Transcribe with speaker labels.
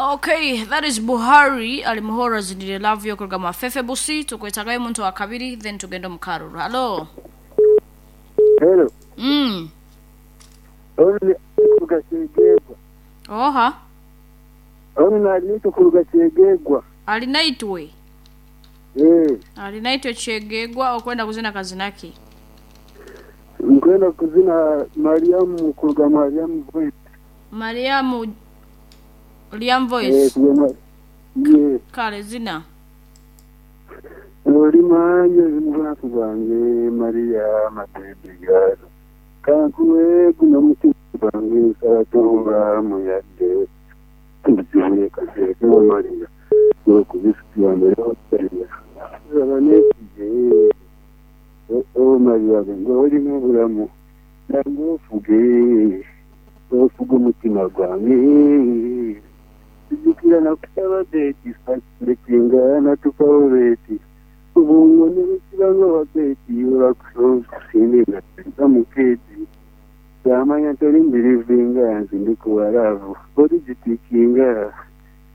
Speaker 1: Okay, that is Buhari ali muhoro azinire love yo kuruga mwa Fefe Busi. Tukwetagayo omuntu wa kabiri then tugende omu karuru. Halo.
Speaker 2: Hello. Onu ni kuruga Kyegegwa.
Speaker 1: Oha.
Speaker 2: Onu nali kuruga Kyegegwa.
Speaker 1: Ali naitwe.
Speaker 2: Eh.
Speaker 1: Ali naitwe Kyegegwa okwenda kuzina kazina ki?
Speaker 2: Nkwenda kuzina Mariamu kuruga Mariamu Voice.
Speaker 1: Mariamu Liam
Speaker 2: Eh,
Speaker 1: Voice.
Speaker 2: kuruga yeah.
Speaker 1: Kale zina.
Speaker 2: Oli manje mubulafu bwange Maria matembe galo. Kankuwe guno mutima gwange nsaba muyadde. Tuzibuye kaseeke wa Maria. Okubisikiwa mbere Maria. Raba neesige. O Maria ng'olimu obulamu. Nange ofuge. Ofuge omutima gwange. Tujjukira nakusaba beeti lekinga natukawo beeti. Obwongo ne bwekibanga wa beeti olwakusinga mukeeti. Yamanya toli mbirivinga nze ndi ku walaavu oligitikinga.